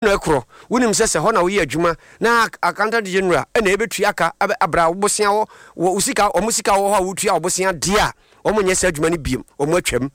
Na ɛkorɔ, wonim sɛ sɛ hɔ na woyɛ adwuma na Accountant General na ɛbɛtua ka abra wo bosea wɔ wo sika, wɔn sika wɔ hɔ a wotua wo bosea deɛ a, wɔn nyɛ saa adwuma no biom, wɔn atwam.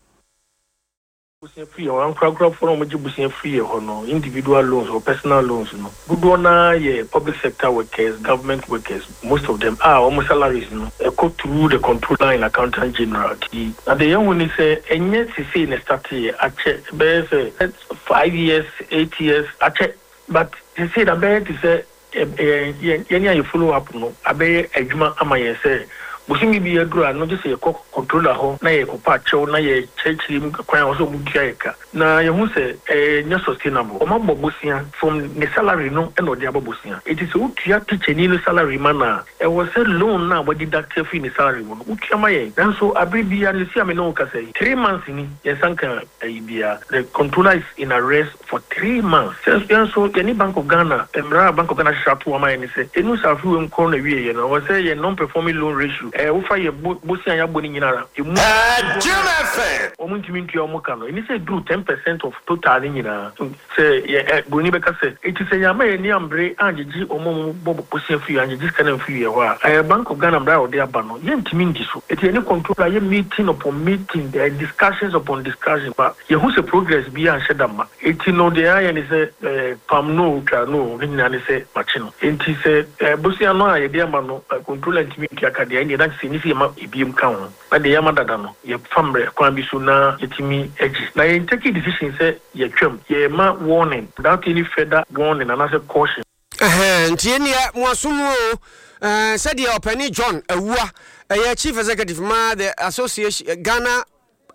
Bosea firi yɛn hɔ, ankorankorafoɔ no a wɔgye bosea firi yɛn hɔ no, individual loans or personal loans no, dodoɔ no ara yɛ public sector workers, government workers, most of them a wɔn salaries no ɛkɔ through the Controller and Accountant General. Nti, na deɛ yɛhu ne sɛ ɛnyɛ sesei na ɛstarteeɛ, akyɛ, ɛbɛyɛ sɛ 5 years, 8 years akyɛ but sesei no abɛyɛ te sɛ yɛn yɛn a yɛ follow up no abɛyɛ adwuma ama yɛn sɛ bosome bi aduru a no gye sɛ yɛkɔ controller hɔ na yɛkɔpa akyɛw na yɛkyerɛkyerɛ mu kwan a ɛwɔ sɛ wɔn tua yɛ ka na yɛhu sɛ ɛnyɛ sustainable. Wɔn abɔ bosea from ne salary no na ɔde abɔ bosea enti sɛ wotua teacher-ni no salary ma no a ɛwɔ sɛ loan no a wɔadeduct afiri ne salary mu no wotua ma yɛn nanso abere biara no seesei a me ne wo kasa yi 3 months ni yɛn nsa nka ayi biara. The controller is in arrest for 3 months. Sɛ yɛn nso yɛne Bank of Ghana, mmara a Bank of Ghana ahyehyɛ ato hɔ ama yɛn ne sɛ, ɛnu sɛ afe wei nkɔ n'awieeɛ no, ɛwɔ sɛ yɛn non-performing loan ratio, ɛɛ wofa yɛ bo bosea a yɛabɔ no nyinaa a, ɛmu dodoɔ no a wɔntumi ntua wɔn ka no, ɛni sɛ ɛduru 10% of total no nyinaa. Sɛ yɛ ɛ buroni bɛka sɛ, enti sɛ yɛamma yɛn ani ammere angyegye wɔn a wɔbɔ bosea firi angyegye sika no amfiri yɛn hɔ a, ɛɛ Bank of Ghana mmara a wɔde aba no, yɛntumi ndi so. Enti yɛne controller yɛ meeting upon meeting, discussions upon discussion, but yɛhu sɛ progress biara nhyɛ da mma. Enti no deɛ yɛayɛ ne sɛ, ɛɛ pam no o, twa no o, ne nyinaa ne sɛ makye no. Enti sɛ ɛɛ bosea no a yɛde ama no, controller ntumi ntua ka deɛ a, ɛnneɛ na kyerɛ sɛ ɛnni sɛ yɛma ebiem ka ho. Na deɛ yɛama dada no, yɛfa mmerɛ kwan bi so na yɛtumi gye. Na yɛn take decision sɛ yɛtwam, yɛrema warning without any further warning anaasɛ caution. Ɛhɛɛ, nti ɛnneɛ mo aso mu o, ɛɛ, sɛdeɛ ɔpanin John Awuah, ɛyɛ Chief Executive ma the Association, Ghana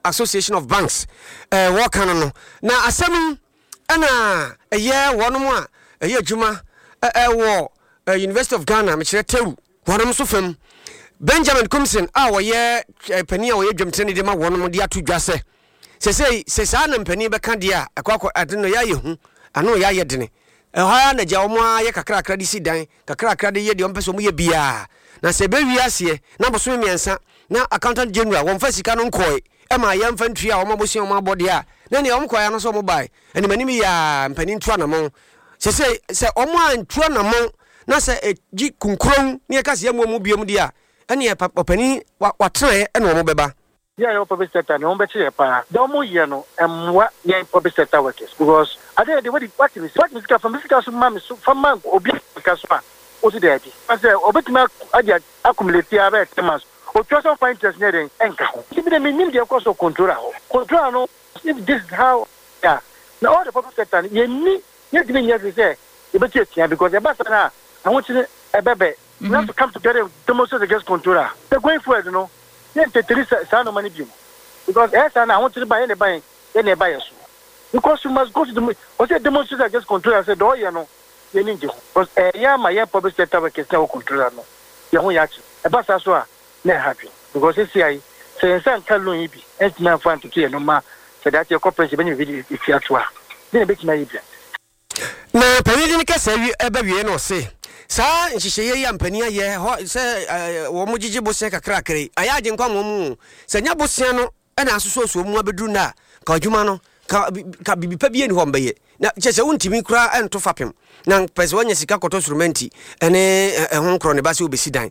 Association of Banks, ɛɛ, wɔka no no. Na asɛm yi ɛna ɛyɛ wɔnom a ɛyɛ adwuma ɛwɔ University of Ghana, mekyerɛ TEWU, Wɔnom nso fam, Benjamin Kumson a ɔyɛ panin a ɔyɛ dwamtirani de ma wɔnom de ato dwa sɛ, sesei sɛ saa na mpanin bɛka deɛ a, ɛkɔ akɔ ade no yɛ ayɛ hu, ano yɛ ayɛ dene. Ɛhɔ ara na gya wɔn ara yɛ kakrakra de si dan, kakrakra de yɛ deɛ wɔn pɛ sɛ wɔn yɛ biara. Na sɛ ɛbɛwie aseɛ na bosome mmiɛnsa na Accountant General wɔmfa sika no nkɔe ma yɛmfa ntua wɔn abosea wɔn abɔ deɛ a, na nea wɔn kɔe ano sɛ wɔn bae animanim yɛ a mpanin tu anamɔn. Sesei sɛ wɔn antu anamɔn na sɛ ɛgye kunkurow na yɛka sɛ yɛmmoa mu biom deɛ a, ɛneɛ ɔpanin watenaeɛ ɛna wɔn bɛba. Yɛn a yɛwɔ public sector no, wɔn bɛkye yɛn paa. Deɛ wɔn yɛ no mmoa yɛn public sector workers because adeɛ yɛ deɛ wadi wate me wate me sika fa me sika so ma me so fa ma obi sika so a wosi daabi. Sɛ ɔbɛtumi agye accumulate ara bɛyɛ 10 months otua sɛ ɔmfa interest nyɛ dɛn ɛnka ho. Nti me deɛ mennim deɛ ɛkɔ so controller hɔ. Controller no if this is how a na all the public sector no yɛnni yɛntumi nyɛ hwee sɛ yɛbɛtu atua because ɛba saa no a ahokyere ɛbɛbɛ. We have to come together and demonstrate against controller. Sɛ going forward no yɛnteteri saa nneɛma no bio because ɛyɛ saa no ahokyere ba yɛn na ɛba yɛn yɛn na ɛba yɛn so because we must go to the ɔsɛ demonstrate against controller sɛ deɛ ɔyɛ no yɛn ani ngye ho because ɛyɛ ama yɛn public sector workers na ɛwɔ controller no yɛn ho yɛ akye ɛba saa so a na ɛha adwene because seesei yi sɛ yɛn nsa nka loan yi bi ɛntumi amfa antoto yɛn nneɛma sɛ daakye yɛkɔ pension yɛbɛnya biribi de atua to a deɛ na ɛbɛtumi ayɛ bia. Na panin no kasa wie ɛbɛ wie no ɔse saa nhyehyɛeɛ yi a mpanin ayɛ hɔ sɛ wɔn gyegye bosea kakrakra yi ayɛ agyenkwa ma wɔn o sɛ nyɛ bosea no na asosɔsosɔ mu abɛduru nnɛ a, ka adwuma no, ka, ka biribi pa bi ani hɔ mbɛyɛ. Na kyerɛ sɛ wontumi koraa nto fapem. Na pɛ sɛ woanya sika kɔtɔ surumɛnti ne ɛho nkorɔ ne ba sɛ wobɛsi dan.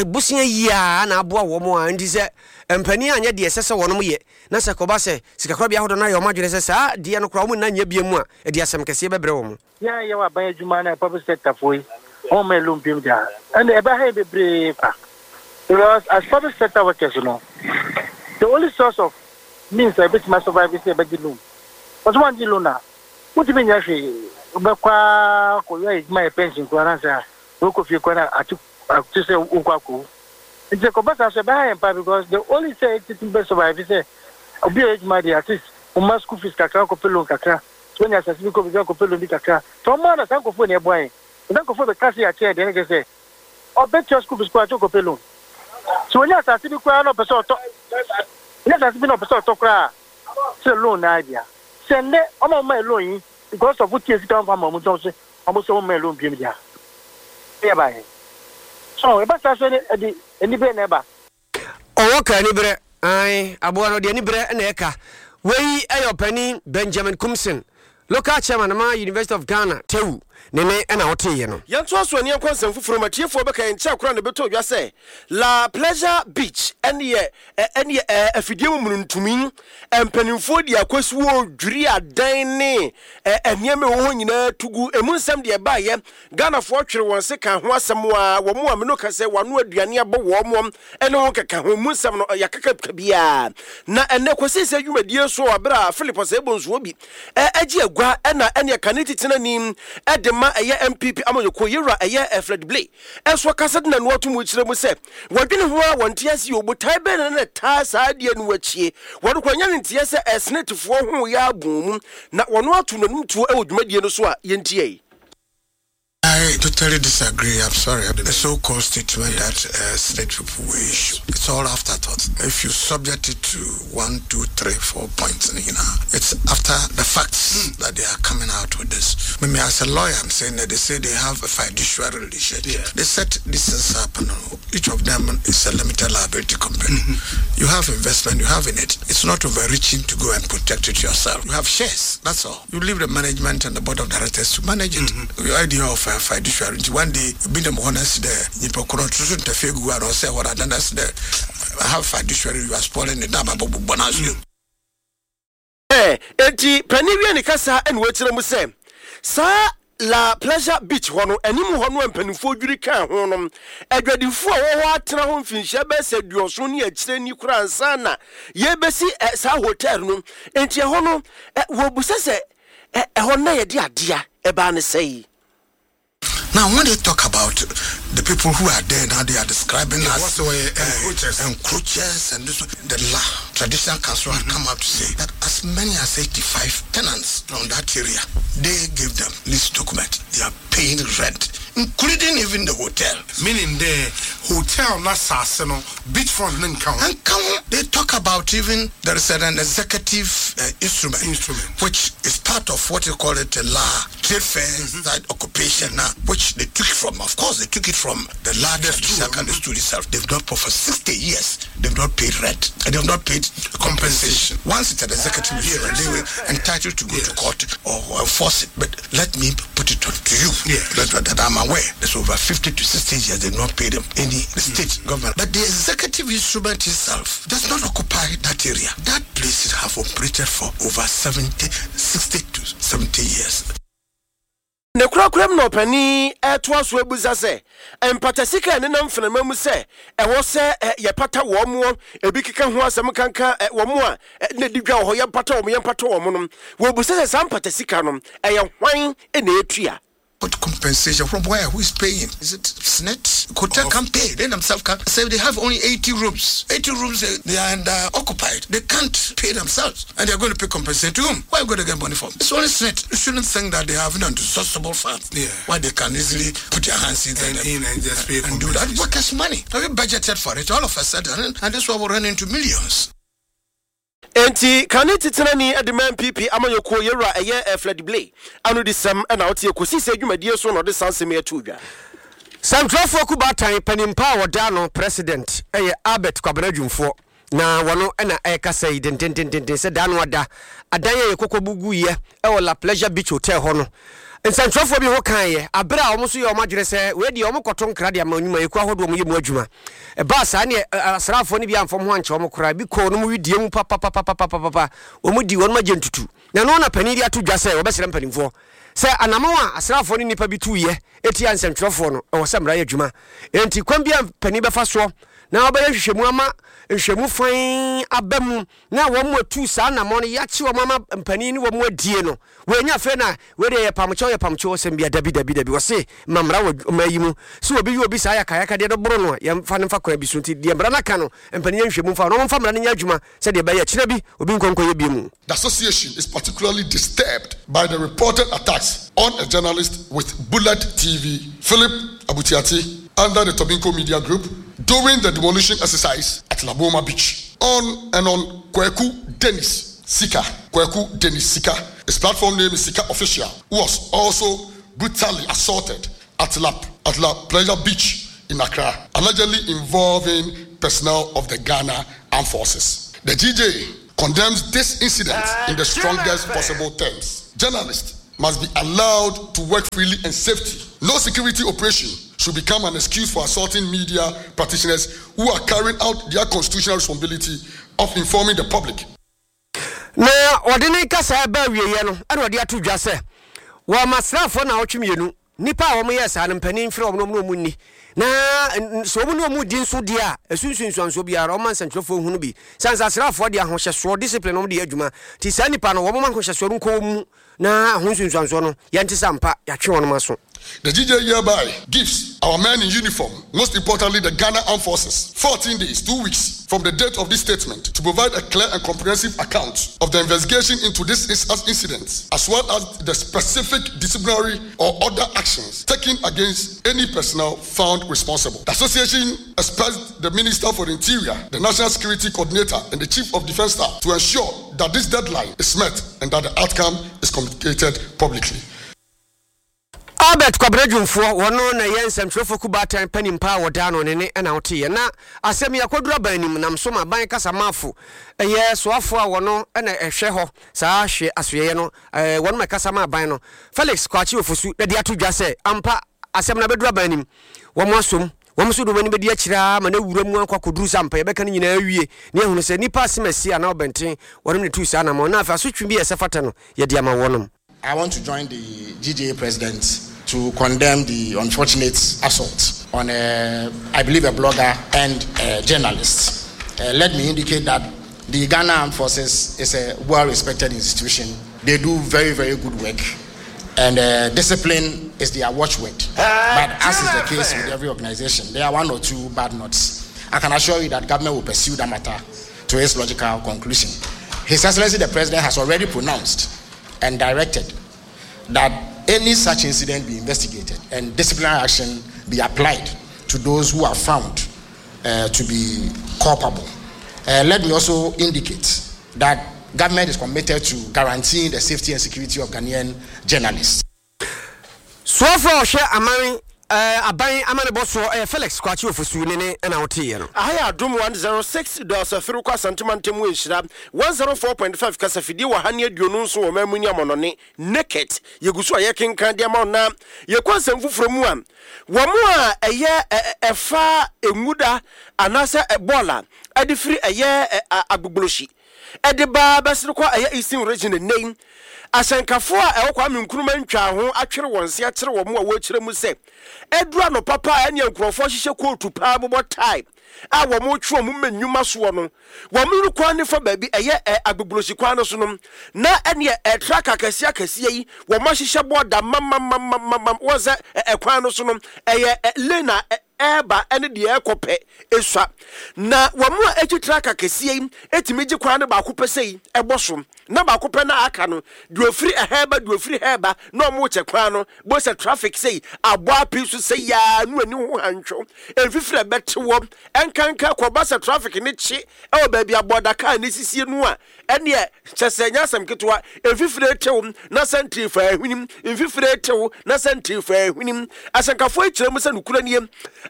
Bosea yi a na aboa wɔn a nti sɛ mpanin anyɛ deɛ ɛsɛ sɛ wɔnom yɛ na sɛ kɔba sɛ sikakorabea ahodoɔ no ayɛ wɔn adwene sɛ saa deɛ no koraa wɔn nna nyɛ bia mu a, ɛde asɛm kɛseɛ bɛbrɛ wɔn. Yɛn a yɛwɔ aban adwuma ne public sector foɔ yi, wɔn mma yɛn loan biom da. Ɛnde ɛbɛha yɛn bebree kwa. Because as public sector workers no, the only source of means a yɛbɛtumi a survive sɛ yɛbɛgye loan. Because woangye loan a, wontumi nyɛ hwee. Wobɛkɔ ara kɔyɛ adwuma yɛ pension koraa na sɛ wokɔ fie koraa na ate ate sɛ wokɔ akɔwu. Nti ɛkɔba saa so ɛbɛha yɛn paa because the only sɛ yɛtumi bɛ survive sɛ obi a ɔyɛ adwuma deɛ at least woma school fees kakra, wokɔpɛ loan kakra. Sɛ wonya asase bi kɔ baabi akɔpɛ loan bi kakra. Sɛ wɔn ara na saa nkurɔfoɔ na ɛboa yɛn. Na saa nkurɔfoɔ bɛka sɛ yɛakyɛ yɛn deɛ, na kyerɛ sɛ ɔbɛtua school fees koraa kyɛ ɔkɔpɛ loan. Sɛ wɔnya asase bi koraa na ɔpɛ sɛ ɔtɔ, wɔnya asase bi na ɔpɛ sɛ ɔtɔ koraa a, sɛ loan na bia. Sɛ nnɛ wɔn a wɔma yɛ loan yi, because of wotua sika wɔmfa ma wɔn nti wɔn sɛ wɔn sɛ wɔmma yɛ loan biom deɛ a, ɛyɛ ba yɛn. So ɛba saa so ɛde anibere na ɛba. Ɔwɔ ka aniberɛ, ae, aboa no, ɔde aniberɛ na ɛka. Wei yɛ ɔpanin Benjamin Kumson. Local Chairman ma University of Ghana, TEWU, ne ne na woteeɛ no. Yɛntoa so ani nkɔ nsɛm foforɔ mu. Atiefoɔ bɛka yɛn nkyɛn koraa na ɛbɛtɔ dwa sɛ La Pleasure Beach ɛne ɛne afidie mu mununtumi. Mpanimfoɔ di akwasi wɔ dwiri adan ne nneɛma ɛwɔ hɔ nyinaa to gu. Emu nsɛm deɛ ɛbaeɛ, Ghanafoɔ twere wɔn se ka ho asɛm a wɔn a mene ka sɛ wɔano aduane abɔ wɔn ne ho keka ho. Emu nsɛm no yɛakeka biara. Na ɛnnɛ Kwasi Sɛ dwumadie so wɔ berɛ a Philip Osei Bonsu Obi agye agua na ɛneɛ kane titenani de ma ɛyɛ NPP amanyɔkuo Yewura ɛyɛ Fred Blay nso akasa de n'ano ato mu kyerɛ mu sɛ wɔdwene ho a wɔnte aseɛ o, botae bɛn na na ɛtaa saa adeɛ no akyie? Wɔn koraa nya ne nteɛ sɛ Senetefoɔ ho yɛ abɔn mu na wɔn ato n'anom tuo wɔ dwumadie no so a yɛntie. I totally disagree. I'm sorry. The so-called statement that Senate people will issue, it's all afterthought. If you subject it to 1, 2, 3, 4 points, you know, it's after the facts that they are coming out with this. Maybe as a lawyer, I'm saying that they say they have a fiduciary relationship. They set these things up, and each of them is a limited liability company. You have investment, you have in it. It's not overreaching to go and protect it yourself. You have shares, that's all. You leave the management and the board of directors to manage it. Your idea of a fiduciary, one day, be the honest there, you say what I done there. I have fiduciary, you are spoiling it. Enti panin wie ne kasa na wakyerɛ mu sɛ saa La Pleasure Beach hɔ no, anim hɔ no a mpanimfoɔ dwiri kaa ho no, adwadifoɔ a wɔwɔ hɔ atena hɔ mfinhyia bɛyɛ sɛ aduɔson ne akyire ni koraa ansa na yɛrebɛsi saa hotel no. Enti ɛhɔ no, wɔbisa sɛ ɛhɔ na yɛde adeɛ ɛbaa ne sɛe. Now, when they talk about the people who are there now, they are describing yeah, as encroachers. Encroachers and this, the law, traditional council had come out to say that as many as 85 tenants from that area, they gave them lease document. They are paying rent, including even the hotel. Meaning the hotel na saase no beachfront ne nka ho. Nka ho. They talk about even there is an executive instrument, Instrument. which is part of what you call it a law, trade fair side occupation now, which they took from, of course, they took it from the law, the stool, the stool itself. They've not paid for 60 years. They've not paid rent. And they've not paid compensation. Once it's an executive instrument, they were entitled to go to court or enforce it. But let me put it on to you that I'm aware. There's over 50 to 60 years they've not paid them any the state government. But the executive instrument itself does not occupy that area. That place have operated for over 70, 60 to 70 years. Ne korakoram na ɔpanin retoa so abisa sɛ, Mpata sika a ɛnenam mfenama mu sɛ ɛwɔ sɛ yɛpata wɔn, ebi keka ho asɛm kanka wɔn a na ɛdi dwa wɔ hɔ, yɛmpata wɔn, yɛmpata wɔn no, wɔbisa sɛ saa mpata sika no, ɛyɛ hwan na ɛtua? What compensation from where? Who is paying? Is it SSNIT? Hotel can't pay. They themselves can't. Say they have only 80 rooms. 80 rooms, they are occupied. They can't pay themselves. And they are going to pay compensation to whom? Where are you going to get money from? It's only SSNIT. You shouldn't think that they have an unsourceable fund. Where they can easily put their hands in And in and just pay and do that. Workers' money. Have you budgeted for it? All of a sudden, and this one will run into millions. Enti kane titenani de ma NPP amanyɔkuo Yɛwura ɛyɛ Fledy Blay anodisɛm na woteɛ kɔsii sɛ dwumadie so na ɔde saa nsɛm yi ato dwa. Sɛntwerɛfoɔ Kubaatan panin pa a wɔda ano President yɛ Albert Kwabena Dwumfoɔ na wɔno na ɛrekasa yi dendendenden sɛ da ano ada adan a yɛkɔkɔ bu guiɛ wɔ La Pleasure Beach Hotel hɔ no nsɛntwerɛfoɔ bi ho kaeɛ aberɛ a wɔn nso yɛ wɔn adwene sɛ wei deɛ wɔn kɔto nkra de ama nnwumayɛkuo ahodoɔ wɔn yɛ mu adwuma. Ɛbaa saa neɛ asraafoɔ no bi amfa wɔn ho ankyɛ wɔn koraa, ebi kɔɔ wɔn wedeɛ mu papapapapapa, wɔn di wɔn agye ntutu. Na ɛno na panin de ato dwa sɛ wɔbɛsrɛ mpanimfoɔ sɛ anamɔn a asraafoɔ ne nnipa bi tuiɛ tia nsɛntwerɛfoɔ no, ɛwɔ sɛ mmara yɛ adwuma. Enti kwan bi a panin bɛfa soɔ na wɔbɛyɛ nhwehwɛmu ama nhwehwɛmu fann aba mu na wɔn atu saa anamɔn no, yɛakye wɔn ama mpanin ne wɔn adie no, wɔanya afei na wei deɛ yɛ pamkyɛw yɛ pamkyɛw ɔsɛm bia dabi dabi dabi wɔse ma mmara wɔ ɔman yi mu sɛ obi yɛ obi saa yakayakadeɛ no boro no a yɛmfa no mfa kwan bi so nti deɛ mmara no aka no mpanin yɛ nhwɛmu mfa na wɔmfa mmara no nyɛ adwuma sɛdeɛ ɛbɛyɛ kyena bi obi nkɔ nkɔyɛ bi mu. The association is particularly disturbed by the reported attacks on a journalist with Bullet TV, Philip Abutiate, under the Tobinco Media Group during the demolition exercise at Laboma Beach. On and on Kweku Dennis Sika, Kweku Dennis Sika. His platform name is Sika Official, who was also brutally assaulted at La, at La Pleasure Beach in Accra, allegedly involving personnel of the Ghana Armed Forces. The GJ condemns this incident in the strongest possible terms. Journalists must be allowed to work freely and safety. No security operation should become an excuse for assaulting media practitioners who are carrying out their constitutional responsibility of informing the public. Na ɔde ne kasaa reba awieeɛ no, ɛna ɔde ato dwa sɛ, wɔma asraafoɔ nnawɔtwe mmienu, nnipa a wɔyɛɛ saa no, mpanin mfrɛ wɔn na wɔne wɔn nni, na sɛ wɔn ne wɔn redi nso deɛ a, ɛso nsunsuansoɔ biara, wɔmma nsɛntwerɛfoɔ nhunu bi. Sane sɛ asraafoɔ de ahohyɛsoɔ, discipline, na wɔde yɛ adwuma, nti saa nnipa no, wɔmma ahohyɛsoɔ no nkɔ wɔn mu, Na ho nsunsuansoɔ no, yɛnte sɛ ampa yɛatwe wɔnom aso. The GJ hereby gives our men in uniform, most importantly the Ghana Armed Forces, 14 days, two weeks, from the date of this statement to provide a clear and comprehensive account of the investigation into this incident, as well as the specific disciplinary or other actions taken against any personnel found responsible. The association expects the Minister for the Interior, the National Security Coordinator, and the Chief of Defense Staff to ensure that this deadline is met and that the outcome is communicated publicly. Albert Kwabena Dwumfoɔ, wɔno na ɛyɛ nsɛmtwerɛfoɔ kubaatan panin paa wɔ daa no ne ne na woteeɛ. Na asɛm yi akɔduru aban anim nam so ma aban kasamafo ɛyɛ soafoɔ a wɔno na ɛhwɛ hɔ saa hwɛ asoɛeɛ no wɔnom na ɛkasa ma aban no Felix Kwakye Ofosu de ato dwa sɛ ampa asɛm no abɛduru aban anim wɔn asom Wɔn nso de wɔn ani bɛdi akyire ara ma no awura mu akɔ akɔduru sɛ ampa yɛbɛka ne nyinaa awie na yɛahunu sɛ nnipa asem asi anaa ɔbɛnten wɔnom na ɛtuu saa anammɔn na afei asotwe bi a ɛsɛ fata no yɛde ama wɔnom. I want to join the GJA president to condemn the unfortunate assault on a, I believe, a blogger and a journalist. Uh, let me indicate that the Ghana Armed Forces is a well-respected institution. They do very, very good work and uh, discipline is their watchword. But as is the case with every organization, there are one or two bad nuts. I can assure you that government will pursue that matter to its logical conclusion. His Excellency the President has already pronounced and directed that any such incident be investigated and disciplinary action be applied to those who are found uh, to be culpable. Uh, let me also indicate that government is committed to guaranteeing the safety and security of Ghanaian journalists. Soafoɔ a ɔhwɛ aman eh, aban amanebɔ soɔ ɛyɛ Felix Kwakye Ofosu ne ne ɛna woteeɛ no. Aha yɛ Adom 106.3 kɔ Asante mantam mu Nhyira 104.5 kasafidie wɔ ha ne 27 wɔ ɔman mu ne amɔnɔne Naked yɛgu so a yɛkenkan de ama wo na yɛkɔ nsɛm foforɔ mu a wɔn a ɛyɛ ɛfa nwuda anaasɛ bɔɔla ɛde firi ɛyɛ Agbogbloshie de ba bɛsene kɔ ɛyɛ Eastern Region nnɛ yi. Ahyɛnkafoɔ a ɛwɔ Kwame Nkrumah ntwaa ho atwere wɔn se akyerɛ wɔn a wɔrekyerɛ mu sɛ aduru anɔpa paa ɛneɛ nkurɔfoɔ hyehyɛ kootu paa bobɔ tae a wɔn retwe wɔn mmɛ nnwuma soɔ no wɔn no kwan ne fa baabi ɛyɛ ɛ Agbogbloshie kwan no so no na ɛneɛ ɛ truck akɛseɛ akɛseɛ yi wɔn ahyehyɛ bɔɔda mamamamamamam wɔn sɛ ɛkwan no so no ɛyɛ ɛ lane a ɛreba ne deɛ ɛrekɔ pɛ sua. Na wɔn a ɛtwi traka kɛseɛ yi tumi gye kwan no baako pɛ sei bɔ so, na baako pɛ no a aka no, deɛ ɔfiri ɛha reba, deɛ ɔfiri ha reba, na wɔrekyɛ kwan no. Bohu sɛ traffic sei abɔ apee so sei ara, na w'ani ho hantwo, mfifiri a ɛbɛte wɔ, ɛnkanka kɔba sɛ traffic no kye wɔ baabi a bɔɔda kaa no sisie no a, Ɛnneɛ, kyɛ sɛ ɛnyɛ asɛm ketewa. Mfifire retew na sɛnte faa hwenem, mfifire retew na sɛnte faa hwenem. Asɛnkafoɔ yi kyerɛ mu sɛ nokorɛ nie,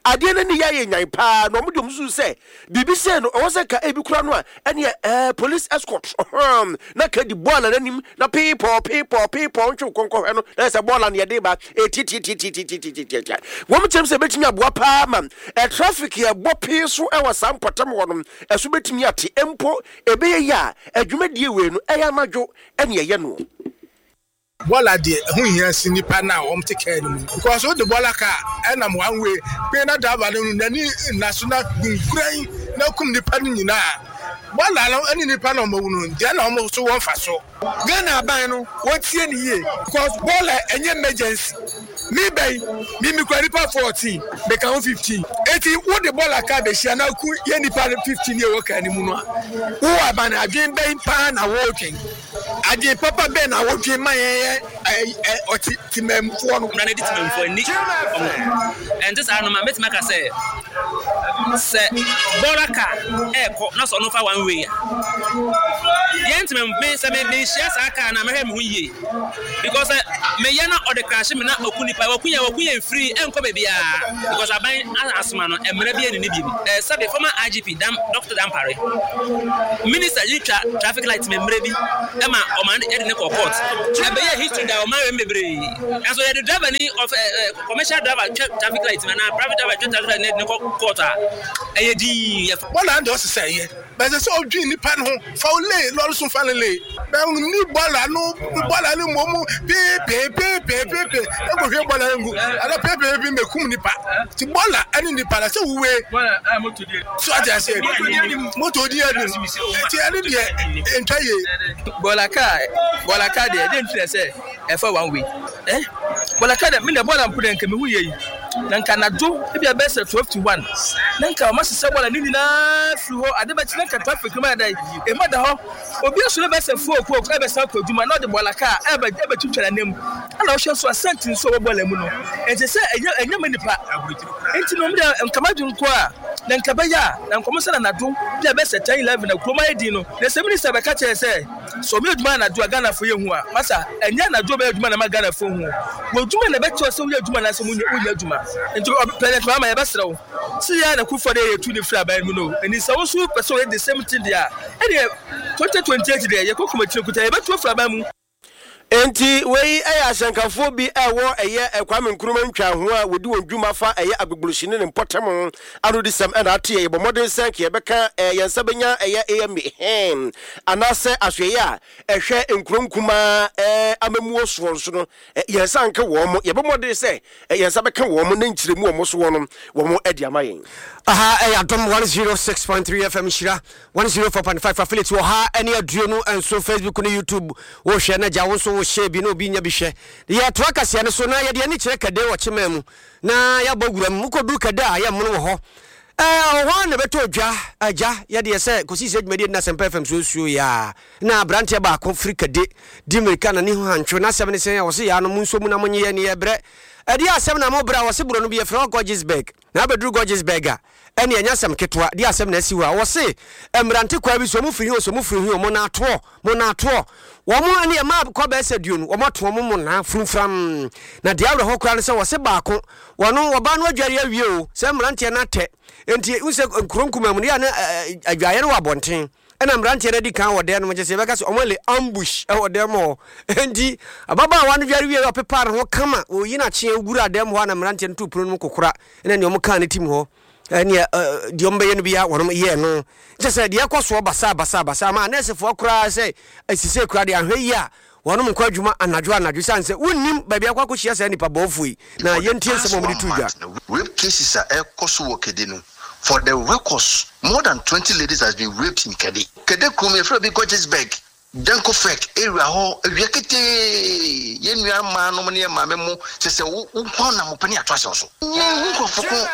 adeɛ no ani yɛ ayɛ nyan paa, na wɔn deɛ wɔsusu sɛ biribi sei no, ɛwɔ sɛ nka ebi kora no a, ɛnneɛ ɛɛ police escort, ɔhɔn, na ka di bɔɔla no anim, na peepɔɔ, peepɔɔ, peepɔɔ, ntwe wo kɔnkɔhwɛ no, na yɛ sɛ bɔɔla no yɛde ba, ɛtiatiatiatiatiatiatia. Wɔn kyerɛ mu sɛ ɛbɛtumi aboa paa ma ɛ traffic a ɛbɔ pee so wɔ saa mpɔtam hɔ no, ɛso bɛtumi ate mpo Ɛbɛyɛ yie a, adwumadie wei no, ɛyɛ anadwo na yɛyɛ noɔ. Bɔɔla deɛ ɛho hia si nipa no a wɔn te kaa no mu because wode bɔɔla kaa ɛnam one way pee na driver no n'ani nna so na gunkuran na kum nipa no nyinaa bɔɔla no ɛne nipa na wɔn awu no deɛ na wɔn so wɔn fa so. Ghana aban no wɔntie no yie because bɔɔla ɛnyɛ emergency me ba yi me me kura nipa 14 me ka ho 15 eti wo de bɔɔla kaa bɛhyia na ku yɛ nipa 15 yɛ wɔ kaa ne mu no a wo aban no adwen bɛn paa na wɔredwen adwen papa bɛn na wɔdwen ma yɛn yɛ ɛ ɔte temammufoɔ no. Mmara no di temammufoɔ ani wɔn ɛnte saa no ma mɛtumi aka sɛ sɛ bɔɔla kaa ɛrekɔ na sɛ ɔno fa one way a yɛn ntoma me sɛ me mehyia saa kaa na mɛhwɛ me ho yie because sɛ meyɛ na ɔde krahye me na ɔku nipa wɔku yɛn wɔku yɛn firi ɛnkɔ baabiara because aban asoma no mmerɛ bi ɛnni bi mu ɛɛ sɛbe former IGP dam Dr. Dampare minister yi twa traffic light me mmerɛ bi ɛma. ɔman de ne kɔ court. Ɛbɛyɛ history da ɔman wɛm bebree. Nanso yɛde driver ni of commercial driver twɛ traffic light mu anaa private driver twɛ traffic light na yɛde ne kɔ court a, ɛyɛ dinn. Bɔɔla deɛ ɔsesɛ yɛ bɛsɛ sɛ ɔdwen nipa no ho fa wo lee lɔre so fa ne lee bɛn ni bɔɔla no bɔɔla no mmom peepeepeepeepeepe ɛkɔhwie bɔɔla no ngu ana peepeepe mɛkum nipa ti bɔɔla ɛne nipa na sɛ wuwe so ate aseɛ moto di anim nti ɛne deɛ ntwa yie. Bɔɔla kaa bɔɔla kaa deɛ ɛdeɛ nti na sɛ ɛfa one way eh bɔɔla kaa deɛ me deɛ bɔɔla mpo deɛ nka mehu yie yi na nka anadwo ebi a bɛyɛ sɛ 12 to 1 na nka wɔn asesa bɔɔla ne nyinaa firi hɔ ade bɛkye na nka traffic no ma yɛ dɛ ema da hɔ obi asɔre bɛyɛ sɛ 4 o'clock ɛbɛsan kɔ adwuma na ɔde bɔɔla kaa ɛbɛ ɛbɛtwitwa n'anim ɛna ɔhwɛ nso asɛnti nso ɛwɔ bɔɔla mu no ɛnkyɛ sɛ ɛnyɛ ɛnyɛ ma nipa. Enti no, me deɛ nka m'adwene nko a, na nka ɛbɛyɛ a, na nka wɔn sɛ anadwo bi a ɛbɛyɛ sɛ 10, 11 na kurom ayɛ din no, na sɛ minista bɛka kyerɛ sɛ, sɛ wɔyɛ adwuma anadwo a Ghanafoɔ yɛ hu a, masa, ɛnyɛ anadwo wɔbɛyɛ adwuma na ɛma Ghanafoɔ hu o. Wɔ adwuma na ɛbɛkyerɛ sɛ woyɛ adwuma anaasɛ wonyɛ adwuma. Nti President Mahama yɛbɛsrɛ wo, sɛ yɛ a na Kufuor deɛ yɛtu no firi aban mu no, ɛni sɛ wo nso wopɛ sɛ woyɛ the same thing deɛ a, ɛneɛ 2028 deɛ yɛkɔ kumakyire kuta yɛbɛtu afiri aban mu. Enti wei yɛ ahyɛnkafoɔ bi a ɛwɔ ɛyɛ Kwame Nkrumah ntwaho a wɔdi wɔn dwuma fa ɛyɛ Agbogbloshie ne ne mpɔtam anodisɛm ɛna ate yɛ. Yɛbɔ mmɔden sɛ nka yɛbɛka yɛn nsa bɛnya ɛyɛ AMA hen anaasɛ asoɛeɛ a ɛhwɛ nkuro nkumaa amammuo soɔ nso no yɛn nsa nka wɔn. Yɛbɔ mmɔden sɛ yɛn nsa bɛka wɔn na nkyerɛmu a wɔn soɔ no wɔn de ama yɛn. Aha ɛyɛ Adom 106.3 FM Nhyira 104.5 Affiliate wɔ ha ɛne 27 Facebook ne YouTube wo hwɛ na gya wo nso wo share bi na obi nya bi hwɛ. Yɛtoa kaseɛ no so na yɛde ani kyerɛ Kɛde wɔ Kyeman mu na yɛabɔ wura mu. Wokɔduru Kɛde a yɛ mmono wɔ hɔ. Ɛɛ wɔ hɔ ara na ɛbɛtɔ dwa agya yɛdeɛ sɛ kɔsi sɛ dwumadie no na Asɛmpa FM so nsuo yɛ a na aberanteɛ baako firi Kɛde di mmirika na ne ho hantwo n'asɛm ne sɛn a wɔse yaa no monso mu na monye yɛn yɛbrɛ. Ɛdeɛ asɛm na mobrɛ a wɔse borɔno bi yɛfrɛ hɔ Gorgesburg. Na abɛduru Gorgesburg a, ɛnneɛ ɛnyɛ asɛm ketewa, deɛ asɛm na asi hɔ a, wɔse mmerante kwaa bi so, wɔn firi he o, sɛ wɔn firi he o, monaatoɔ, monaatoɔ. Wɔn ɛnneɛ mmaa kɔ bɛyɛ sɛ aduonu, wɔn ato wɔn monaa furumfuram. Na deɛ awerɛhoɔ koraa ne sɛ wɔse baako, wɔno, wɔbaa no adware awie o, sɛ mmeranteɛ no atɛ, enti wohu sɛ nkuro nkumaa mu no, yɛ a na adwaeɛ no wɔ abɔnten. Ɛna mmeranteɛ no adi kan wɔ dan no mu, kyerɛ sɛ yɛbɛka sɛ wɔn ale ambush wɔ dan mu hɔ. Enti ababaawa no dware wieeɛ, ɔpepaa ne ho kama, ɔyi n'akyeɛ wuraa dan mu hɔ a na mmeranteɛ no too pono no mu kokora, ɛna nea wɔkaa ne tim hɔ, ɛneɛ deɛ wɔbɛyɛ no biara wɔnom yɛɛ no. Kyerɛ sɛ deɛ ɛkɔ soɔ basaa basaa basaa ma anɛɛsefoɔ koraa sɛ asisei koraa deɛ anhwɛ yie a wɔnom nkɔ adwuma anadwo anadwo sane sɛ wonnim baabi akɔ akɔhyia saa nnipa bɔɔfoɔ yi. Na For the yɛntie past nsɛm a one wɔde too dwa. month no, rape cases a ɛrekɔ so wɔ Kede no, for the records, more than 20 ladies has been raped in Kede. Kede kurom, yɛfrɛ bi Gorgesburg, Dankofek area hɔ, awia ketee, yɛn nua mmaa nom ne yɛn maame mo, kyerɛ sɛ wo wo nko ara na mopɛ ne yɛato ahyɛ wo so. Yɛnhu nkurɔfo ko,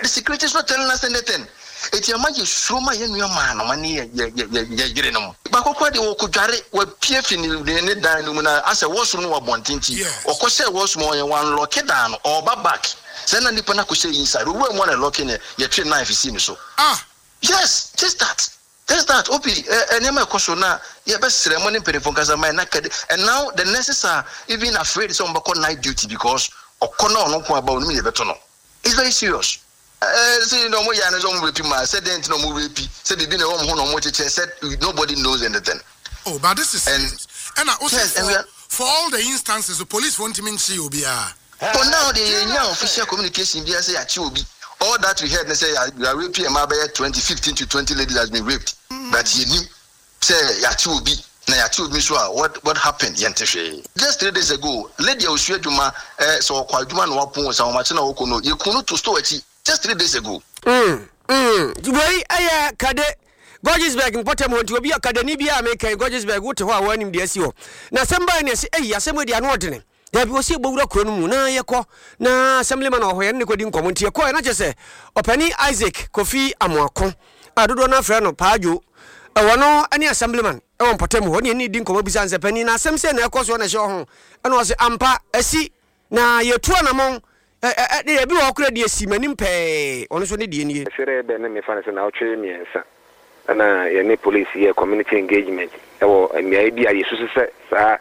the security is not telling us anything. Eti ama yɛ suro ma yɛn nua maa nom ne yɛ yɛ yɛ yɛ yɛ yere nom. Baako koraa deɛ ɔkɔ dware, wapue fi ne ne ne dan no mu na asɛ washroom no wɔ abɔnten nti ɔkɔ hyɛɛ washroom hɔ yɛ wanlɔke dan no, ɔɔba back sɛ na nipa no akɔ hyɛ inside, owura mu a na ɛlɔke no yɛtwee knife sii ne so. Ah! Yes, just that, just that, Obi, ɛ nneɛma ɛkɔ so na yɛbɛsrɛ mo ne mpanyinfoɔ nkasa ma yɛn na kɛde, and now the nurses are even afraid sɛ wɔn bɛkɔ night duty because ɔkɔ na ɔno nko aba onim deɛ ɛbɛto no, it's very serious. Ɛɛ sɛ na ɔmo yɛ ano sɛ ɔmo rape maa sɛ dɛn nti na ɔmo rape sɛ biribi na ɛwɔ ɔmo ho na ɔmo kyekyɛ sɛ nobody knows anything. Oh but this is And serious ɛna wo se yes and we for are for all the instances no police foɔ ntumi nkyee obiara. For now deɛ yɛn nnya official communication biara sɛ yɛakye obi all that we heard ne sɛ yɛ yɛ rape mmaa bɛyɛ 20 15 to 20 ladies has been raped but yɛnnim Sɛ yɛakye obi na yɛakye obi nso a what what happened yɛnte hwee. Just 3 days ago lady a osua adwuma eh sɛ ɔkɔ adwuma na wapon o sɛ ahomakye na ɔkɔ no yɛkuu no to store akyi just 3 days ago. Mm, mm, wei ɛyɛ Kade, Gorgesburg mpɔtam hɔ nti obi a Kadeni biara a meka yi, Gorgesburg wote hɔ a woanim deɛ asi hɔ. Na asɛm bae ne ɛse, ei asɛm wei deɛ ano ɔdene. Dabi, wɔsi yɛbɔwura kuro no mu na yɛkɔ na assemblyman wɔ hɔ yɛne no kɔdi nkɔmmɔ nti yɛkɔɛ na kyerɛ sɛ ɔpani Isaac Kofi Amoako a dodoɔ no afrɛ no Paa Dwo ɛwɔ no ne assemblyman ɛwɔ mpɔtam hɔ ne yɛne di nkɔmmɔ bisa no sɛ panin na asɛm sei na ɛkɔ soɔ na ɛhyɛ ɔho ɛna ɔse ampa asi na yɛtu anamɔn ɛ ɛ ebi wɔ hɔ koraa deɛ si m'anim pɛɛ ɔno nso ne deɛ nie. Ɛserɛ bɛ ne mefa no sɛ naawɔtwe mmiɛnsa na yɛne police yɛɛ community engagement wɔ mmeaeɛ bi a yɛsusu sɛ saa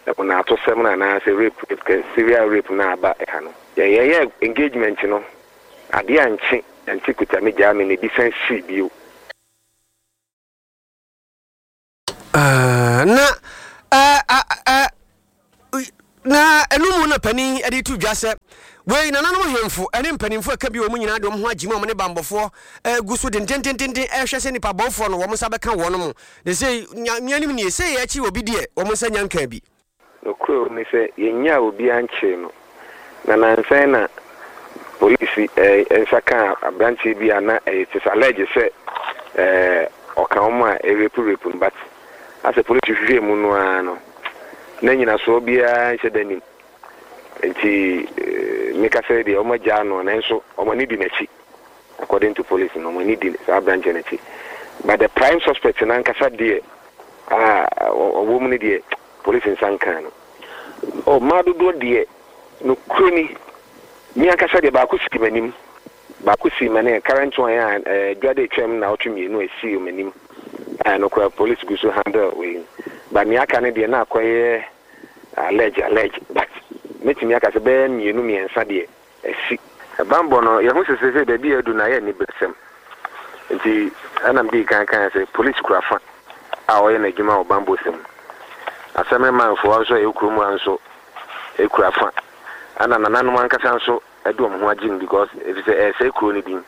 mmonaatosɛm no anaasɛ rape, rape, serial rape no aba ha no. Yɛn yɛyɛɛ engagement no, adeɛ ankye, ante kuta me gyaa me na ebi san sii bio. Ah, na Ɛɛ, na ɛno mu na panin de to dwa sɛ wei nananom ahemfo ne mpanimfoɔ a ɛka bi wɔn nyinaa de wɔn ho agye mu a wɔne banbɔfoɔ gu so dendendenden rehwɛ sɛ nnipa bɔnfoɔ no wɔn nsa bɛka wɔn mo. Na sei nyameanim nie, sei akyi obi deɛ wɔn nsa nya nkaa bi. Nokorɛ wɔ mu ne sɛ, yɛnnyaa obiara nkyee no, na nansa yi na polisi nsa kaa aberanteɛ bi a na it is alleged sɛ ɔka wɔn a ɛrepu rape no, but asɛ polisi hwehwɛɛ mu no ara no, na nyinasoɔ biara nhyɛ da nnim. Nti mekasa yi deɛ wɔagyaa no, nanso wɔn ani di n'akyi, according to police no, wɔn ani di saa aberanteɛ no akyi. But the prime suspect no ankasa deɛ a ɔwɔ mu no deɛ, Polisi nsa nkaa no. Oh, mmaa dodoɔ deɛ, nokorɛ ni, me ankasa deɛ baako sii m'anim, baako sii m'anim, current one a eh, dwa de atwam nnawɔtwe mmienu a ɛsii m'anim, a ɛno koraa polisi gu so handle wei, but nea aka no deɛ na akɔyɛ allege, allege, but mɛtumi aka sɛ bɛyɛ mmienu mmiɛnsa deɛ Asi. Bammɔ no, yɛhu sɛ seesei baabi a adu no ayɛ aniberesɛm. Enti ɛna medii kan kae sɛ polisi kura fa a ɔyɛ n'adwuma wɔ bammɔsɛm mu. Asɛmremanfoɔ nso a ɛwɔ kurom ha nso kura fa. Ɛna nananom ankasa nso de wɔn ho agye mu because efisɛ ɛresɛe kuro no din.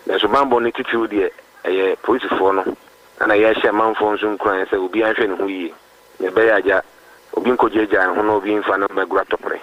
Nanso bammɔ no titiriw deɛ ɛyɛ polisifoɔ no. Ɛna yɛrehyɛ manfoɔ nso nkuran sɛ obiara nhwɛ ne ho yie na ɛbɛyɛ a agya obi nkɔgyaagyaa ne ho na obi mfa no mmɛgoro atɔprɛ.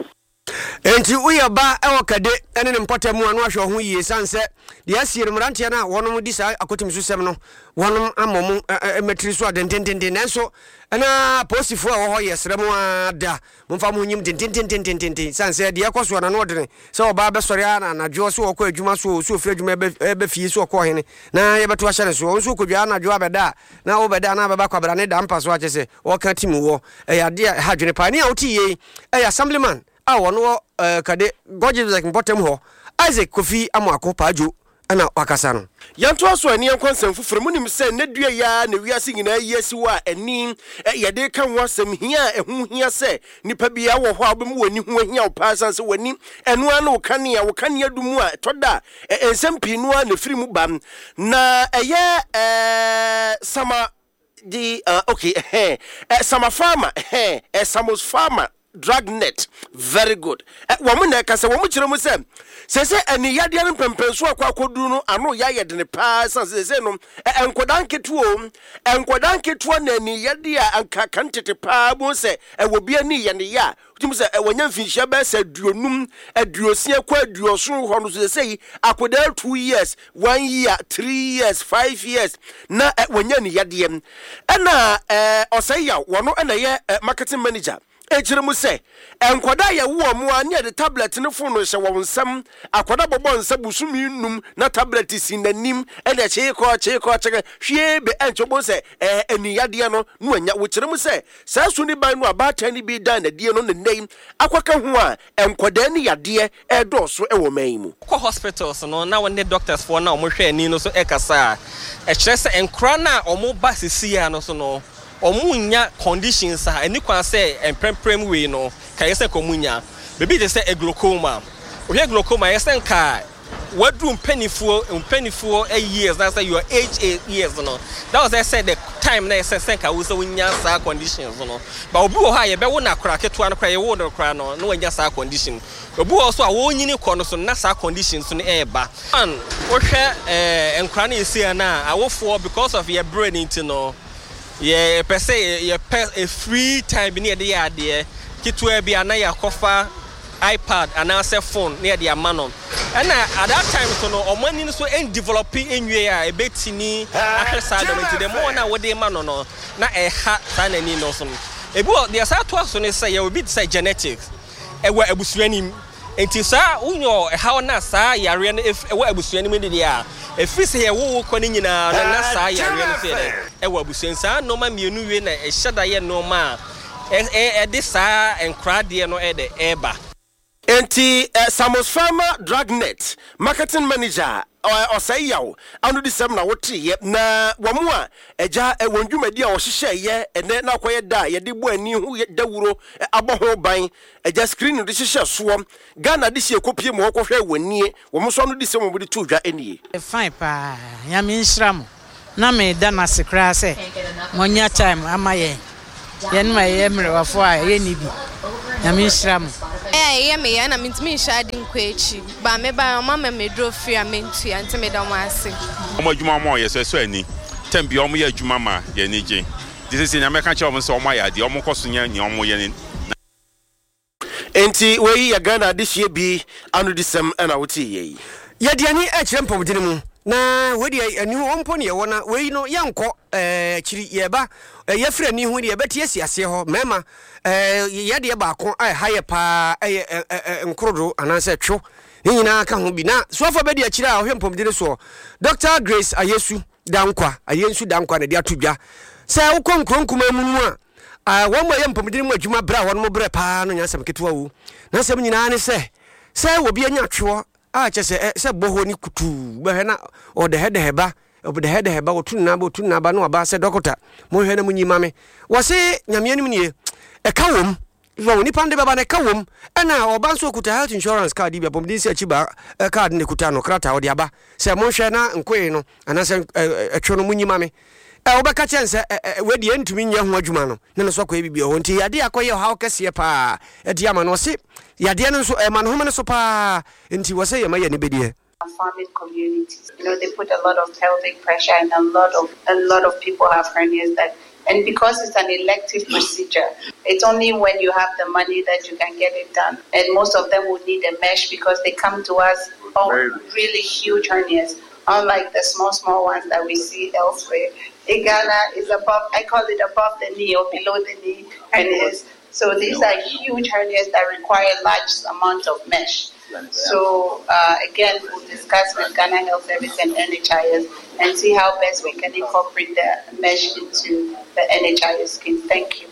Enti woyɛ ɔba wɔ Kade ne ne mpɔtam mu a, na wahwɛ wo ho yie ɛsiane sɛ deɛ asie no mmeranteɛ no a wɔnom di saa akɔtimisusɛm no wɔnom ama wɔn mmatiri so a dendendenden. Nanso na apolisifoɔ a ɛwɔ hɔ yɛ srɛ mo ara da momfa mo ho nyim dendendendenden ɛsiane sɛ deɛ ɛkɔ soɔ no ano ɔdene sɛ ɔbaa bɛsɔre ara na anadwoɔ sɛ ɔkɔ adwuma so o sɛ ɔfiri adwuma ɛbɛ fie sɛ ɔkɔ ɔhene na yɛbɛto ahyɛ ne soɔ nso ɔkɔdwa anadwo abɛda a na wobɛda na abɛba kwabrane da mpa so akyɛ sɛ ɔka tim wɔ Ɛyɛ adeɛ a ɛha adwene paa. Nea wote yei yɛ Assemblyman a ɔno wɔ eh, Kade Gorgibzek mpɔtam hɔ, Isaac Kofi Amoako Paadwo na wakasa no. Yɛntoa so ani yɛnkɔ nsɛm foforo mu. Munim sɛ nnɛ dua yi ara na wiase nyinaa ayi asi hɔ a ani yɛde reka ho asɛm, hia a ɛho hia sɛ nipa biara wɔ hɔ a wobɛma w'ani ho ahia wo paa esiane sɛ w'ani ɛno ara ne wo kanea, wo kanea du mu a ɛtɔ da a nsɛm pii no ara na ɛfiri mu ba na ɛyɛ sama Di ah okay ɛhɛn ɛ sama farmer ɛhɛn ɛ samos farmer drug net very good ɛ wɔn na ɛka sɛ wɔn kyerɛ mu sɛ sese ɛni yadeɛ no mpɛmpɛnso akɔ akɔduru no ano yɛ ayɛ dene paa san sese no ɛ nkɔdaa nketewa o nkɔdaa nketewa na ɛni yadeɛ a anka kan tete paa bu sɛ ɛwɔ bi ani yɛ ne yɛ a Wotumi sɛ wanya mfinhyia bɛyɛ sɛ aduonum, aduosia kɔ aduɔson hɔ no so sɛsɛyi akwadaa two years, one year, three years, five years na wanya ne yadeɛ. Ɛna ɔsɛe yaw wɔno ɛna ɛyɛ marketing manager ɛkyerɛ mu sɛ nkwadaa yɛwo wɔn a ne yɛde tablet ne phone hyɛ wɔn nsam. Akwadaa bɔbɔ nsa bosome num na tablet si n'anim ɛna kyeekɔ kyeekɔ kyekɛ hwie bɛ ɛnkyɛ wobɛhu sɛ ɛni yadeɛ no na wanya. Wokyerɛ mu sɛ Saa su ne ban no a baatan no bi daa no adie no na nnɛ yi akɔka ho a nkwadaa ani yadeɛ redɔɔso wɔ ɔman yi mu. Wokɔ hospitals no na wo ne doctors foɔ no a wɔhwɛ ani no so kasa a, ɛkyerɛ sɛ nkwadaa no a wɔba sesei ara no so no, wɔnnya conditions a ɛni kwan sɛ mprɛmprɛm wei no nka ɛyɛ sɛ nka wɔnya. Biribi te sɛ glaucoma. Wohwɛ glaucoma a, ɛyɛ sɛ nka waduru mpanifoɔ mpanifoɔ years na sɛ your age years no that was ɛsɛ the time na ɛsɛ sɛ nka wo sɛ wonya saa conditions no but obi wɔ hɔ a yɛbɛwo no akora ketewa no koraa yɛwo no koraa no na wanya saa condition obi wɔ hɔ so a wɔnyini kɔ no so na saa conditions no ɛreba one wohwɛ ɛɛ nkora no yɛsi no a awofoɔ because of yɛ brɛ no nti no Yɛpɛ sɛ yɛpɛ a free time bi na yɛde yɛ adeɛ ketewa bi a na yɛakɔfa iPad anaasɛ phone na yɛde ama no. Ɛna at that time so no wɔn ani no so ndevelop nwie a ɛbɛtumi ahwɛ saa nneɛma nti the more na wode ma no no na ɛha saa n'ani no so no. Ebi wɔ deɛ saa toa so ne sɛ yɛwɔ bi te sɛ genetics ɛwɔ abusua no mu. Nti saa wonyɛ ɔhaw no a saa yareɛ no ɛwɔ abusua no mu no deɛ a, ɛfiri sɛ yɛwo wo kɔ no nyinaa no na saa yareɛ no nso yɛ dɛn? Ɛwɔ abusua mu. Saa nnoɔma mmienu wei na ɛhyɛ da yɛ nnoɔma a ɛde saa nkoraa deɛ no ɛyɛ dɛ ɛba. Enti Samos Pharma Drugnet Marketing Manager Ɔsɛe Yaw anodisɛm na woteeɛ, na wɔn a agya wɔn dwumadi a wɔhyehyɛeɛ ɛnnɛ na akɔyɛ da a yɛde bɔ ani ho dawuro abɔ ho ban Agya screen no de hyehyɛ soɔ. Ghana adehyeɛ kɔpie mu hɔ kɔhwɛ wɔn nie, wɔn nso ano disɛm wɔn de too dwa nie. Fine paa Nyame nhyira mo na me da no ase koraa sɛ mo anya time ama yɛn. Yɛnom a yɛyɛ mmerewafoɔ a yɛnni bi. Nyame nhyira mo. Ɛyɛ a ɛyɛ me ya na mentumi nhyɛ ade nkɔ akyi but me baeɛ ɔmo ama me aduro free a mentua nti meda ɔmo ase. Wɔn adwuma a wɔyɛ so ɛsɔ ani. Term biara wɔyɛ adwuma ma yɛn ani gye. Nti seesei nea mɛka akyerɛ wɔn ne sɛ wɔayɛ adeɛ, wɔnkɔ so nyɛ nea wɔyɛ no na. Enti wei yɛ Ghana adehyeɛ bi anodisɛm na woteeɛ yi. Yɛde ani rekyerɛ mpɔmudene mu, na wei deɛ ani hɔ mpo na yɛwɔ na wei no yɛnkɔ ɛɛ akyiri yɛba yɛfiri ani ho deɛ yɛbɛte asi aseɛ hɔ mmarima ɛɛ yɛ deɛ baako a ɛha yɛ paa ɛyɛ ɛ ɛ nkorodo anaasɛ two ne nyinaa ka ho bi na soafoɔ bɛdi akyire a ɔhwɛ mpɔmudene soɔ Dr. Grace Ayesu Dankwa Ayensu Dankwa na ɛde ato dwa sɛ wokɔ nkuro nkumaa mu no a A Wɔn a ɛyɛ mpɔmuden mu adwuma brɛ a wɔnom brɛ paa no nyɛ asɛm ketewa o. N'asɛm nyinaa ne sɛ, sɛ obi anya tweɔ a kyɛ sɛ ɛ sɛ bɔhɔ ne kutuu bɛhwɛ na ɔdɛhɛdɛhɛ ba, ɔdɛhɛdɛhɛ ba, ɔtu ne nan ba, ɔtu ne nan ba na waba sɛ dɔkota, monhwɛ na monyi ma me. Wɔse Nyame anim nie, ɛka wom. Wɔn nipa no de bɛba no ɛka wom. Ɛna ɔba nso ɔkuta health insurance card bi, apɔmuden sɛ akyi ba card na ɛkuta no, krataa ɔde aba sɛ monhwɛ na nkoe no anaasɛ ɛtwe no monyi ma me. Ɛ wobɛka kyerɛ no sɛ ɛ ɛ wei deɛ ɛntumi nyɛ ho adwuma no na no so akɔyɛ biribi wɔ hɔ nti yadeɛ akɔyɛ ɔhaw kɛseɛ paa ɛde ama no ɔse yadeɛ no nso ɛma no home no so paa nti wɔ sɛ yɛma yɛ ani bɛdeɛ. Farming communities. You know, they put a lot of pelvic pressure and a lot of a lot of people have hernias that and because it's an elective procedure, it's only when you have the money that you can get it done. And most of them would need a mesh because they come to us all really huge hernias unlike the small, small ones that we see elsewhere. In Ghana is above, I call it above the knee or below the knee hernias. So these are huge hernias that require large amount of mesh. So uh, again, we'll discuss with Ghana Health Service and NHIS and see how best we can incorporate the mesh into the NHIS scheme. Thank you.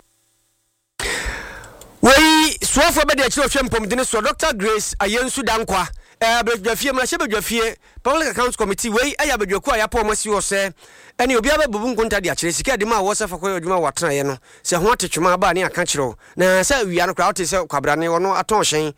Wei soafoɔ bɛde akyire ɔhwɛ mpɔmudene soɔ Dr. Grace Ayensu Dankwa eh, abadwafie mmarahyɛbadwafie Public Accounts Committee wei ɛyɛ abadwakuo a yɛapɔ wɔn asi hɔ sɛ ɛne obiara bɛbubu nkonta de akyerɛ sika a ɛde ma wɔ sɛ fa kɔyɛ adwuma wɔ atenaeɛ no sɛ ho ate twema aba a ne aka kyerɛ wo na sɛ awia no koraa wote sɛ kwabrane ɔno atɔn hyɛn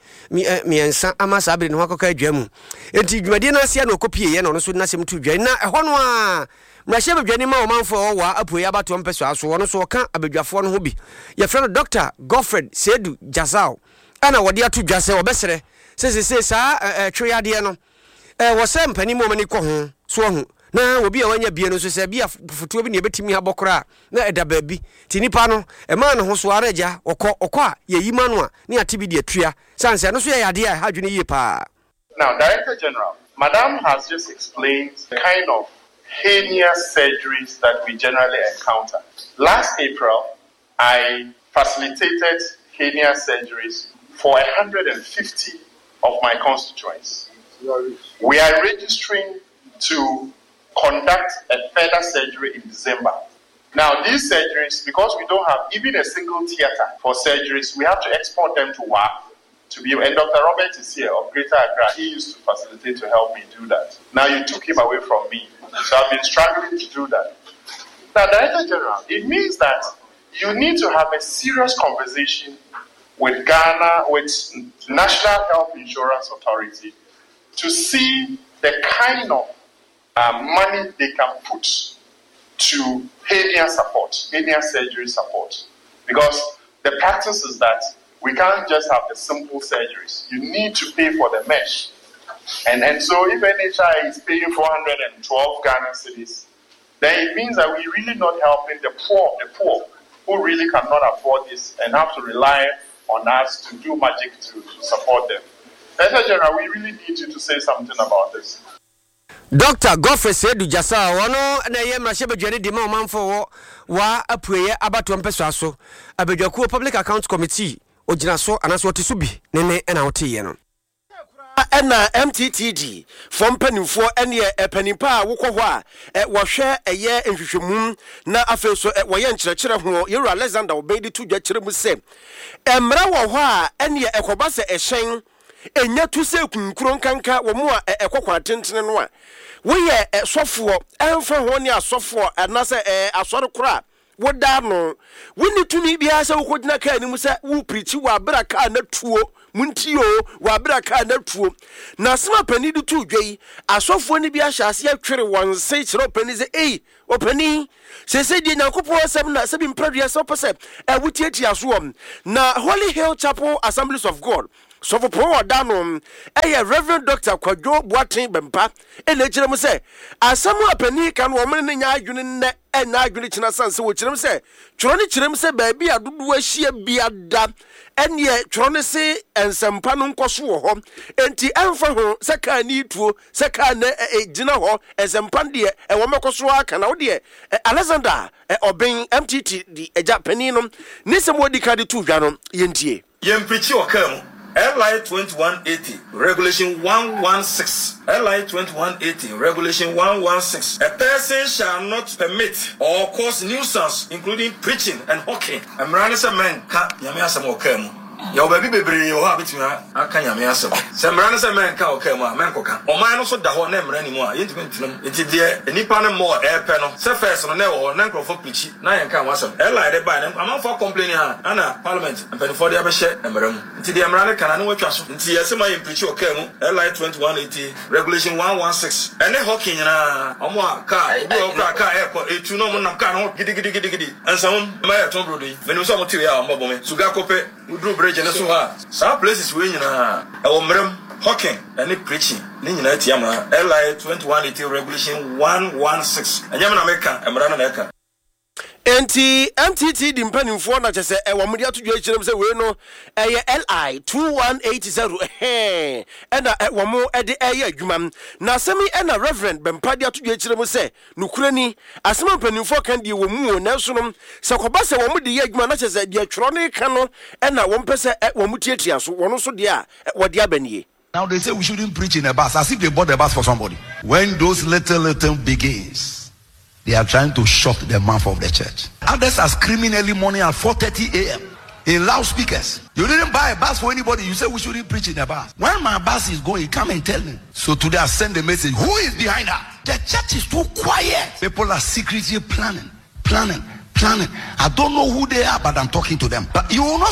mmiɛnsa ama saa bere ne ho akɔka adwa mu enti dwumadie no aseɛ na ɔkɔpieeɛ na ɔno nso de n'asɛm to dwa na ɛhɔ no a Mmarahyɛbadwani ma ɔmanfoɔ a ɛwɔ Wa Apueeɛ abatoɔ mpɛsoa so, ɔno nso ɔka abadwafoɔ no ho bi. Yɛfrɛ no Dɔkta Godfred Seidu Jazao ɛna wɔde ato dwa sɛ wɔbɛsrɛ sɛ seesei saa ɛtwe yadeɛ no ɛwɔ sɛ mpanin mu wɔn ani kɔ ho so ahu na obi a wanya bie no nso sɛ bi a fotoɔ bi na ɛbɛtumi abɔ koraa na ɛda baabi nti nipa no ɛmaa ne ho so ara agya ɔkɔ ɔkɔ a yɛyi ma no a ne ate bi de atua sane sɛ ɛno nso yɛ yadeɛ a ɛha adwene yie paa. Now, Director General, Madam has just explained the kind of heinous surgeries that we generally encounter. Last April, I facilitated hernia surgeries for 150 of my constituents. We are registering to conduct a further surgery in December. Now, these surgeries, because we don't have even a single theater for surgeries, we have to export them to WA to be, and Dr. Robert is here of Greater Accra. He used to facilitate to help me do that. Now you took him away from me. So I've been struggling to do that. Now, Director General, it means that you need to have a serious conversation with Ghana, with National Health Insurance Authority, to see the kind of uh, money they can put to hernia support, hernia surgery support. Because the practice is that we can't just have the simple surgeries. You need to pay for the mesh. And, and so if NHI is paying 412 Ghana cedis, then it means that we're really not helping the poor the poor who really cannot afford this and have to rely on us to do magic to, to support them. Director General, we really need you to say something about this. Dɔkta Godfrey Seidu Gyasah, ɔno na ɛyɛ mmarahyɛbadwani de ma ɔmanfoɔ wɔ Wa Apueeɛ abatoɔ mpɛsoa so abadwakuo Public Accounts Committee, ɔgyina so anaasɛ ɔte so bi ne ne na woteeɛ no. Ɛna MTTD foɔ mpanimfoɔ ɛneɛ panin pa a wokɔ hɔ a wɔhwɛ ɛyɛ nhwehwɛmu na afei nso wɔyɛ nkyerɛkyerɛ ho Yɛwura Alexander Obeng de to dwa kyerɛ mu sɛ mmara wɔ hɔ a ɛneɛ ɛkɔba sɛ ɛhyɛn Nya tu sɛ kunkuro nkanka wɔn a ɛkɔ kwan tentene no a. Woyɛ sɔfoɔ, ɛmfa ho ne asɔfoɔ anaasɛ asɔre korɔ a woda ano. Wonni tumi biara sɛ wokɔgyina kaa no mu sɛ woreprikyi wɔ aberɛ a kaa no atuo. Montie oo, wɔ abere a kaa no atuo. Na asɛm a panin de too dwa yi, asɔfoɔ no bi ahyɛ aseɛ twere wɔn se kyerɛ ɔpanin sɛ, Ei, ɔpanin, seesei deɛ Nyankopɔn asɛm na sɛbi mprɛduasa wopɛ sɛ ɛ wotiatia soɔ. Na Holy Hill Chapel Assemblies of God sɔfopɔn a ɔda ano yɛ Rev. Dɔkta Kwadwo Boateng Bɛmpa na ɛkyerɛ mu sɛ asɛm a panin ka no wɔn ne no nyɛ adwene nnɛ ɛnyɛ adwene kyena sane sɛ wɔkyerɛ mu sɛ twerɛ no kyerɛ mu sɛ baabi a dodoɔ ahyia biada ɛneɛ twerɛ no se nsɛmpa no nkɔ so wɔ hɔ enti ɛmfa ho sɛ kaa ne tuo sɛ kaa no gyina hɔ nsɛmpa no deɛ ɛwɔ mɛkɔ so aka na wo deɛ Alexander Ɔben MTT di agya panin no ne nsɛm a ɔdi kan de too dwa no yɛntie. Yɛmprikyi ɔkaa mu. LI 2180, Regulation 116 LI 2180, Regulation 116 A person shall not permit or cause nuisance, including preaching and hawking. Mmara ne sɛ mɛnka Nyame asɛm wɔ kaa mu. Yɛwɔ baabi bebree wɔ hɔ a bɛtumi aka Nyame asɛm. Sɛ mmara ne sɛ mɛnka wɔ kaa mu a, mɛnkɔka. Ɔman no so da hɔ na mmara nni mu a, yɛntumi ntena mu. Nti deɛ nnipa no mmɔɔ ɛɛpɛ no, sɛ first no na ɛwɔ hɔ, na nkurɔfoɔ preachi, na yɛnka ho asɛm. LI de baeɛ no, amanfoɔ akɔmpleni a, ɛna parliament mpanimfoɔ de abɛhyɛ mmara mu. Nti deɛ mmara no ka no, ano atwa so. Nti yɛse ma yɛmpreachi wɔ kaa mu, LI 2180, Regulation 116, ɛne hawking nyinaa, wɔn a kaa, obi wɔ hɔ koraa a kaa ɛɛkɔ, ɛtu na wɔn nam kaa no ho gidigidigidi. Nsɛm mma yɛtɔn brodo yi, menim sɛ wɔte wei a wɔbɛbɔ me. Sugakope, woduru bridge no so hɔ a, saa places wei nyinaa, ɛwɔ mmara mu. Hawking ɛne preaching ne nyinaa tia mmara. LI 2180, Regulation 116, ɛnyɛ me na meka, mmara no na ɛka. Enti MTT di mpanimfoɔ na kyɛ sɛ ɛwɔ wɔde ato dwa akyerɛ mu sɛ wei no ɛyɛ LI 2180 ɛhɛn ɛna wɔn de ɛyɛ adwuma. Na asɛm yi ɛna Reverend Bɛmpa de ato dwa akyerɛ mu sɛ nokorɛ ni asɛm a mpanimfoɔ ka deɛ wɔ mu o nanso no sɛ kɔba sɛ wɔn de yɛ adwuma na kyɛ sɛ deɛ twerɛ no reka no ɛna wɔn pɛ sɛ wɔn tiatia so wɔn nso deɛ a wɔde aba nie. Now they say we shouldn't preach in a bus as if they bought the bus for somebody. When those little, little begins, they are trying to shut the mouth of the church. Others are screaming early morning at 4.30 a.m. in loudspeakers. You didn't buy a bus for anybody. You say we shouldn't preach in a bus. When my bus is going, come and tell me. So today I send the message. Who is behind that? The church is too quiet. People are secretly planning, planning, planning. I don't know who they are, but I'm talking to them. But you will not.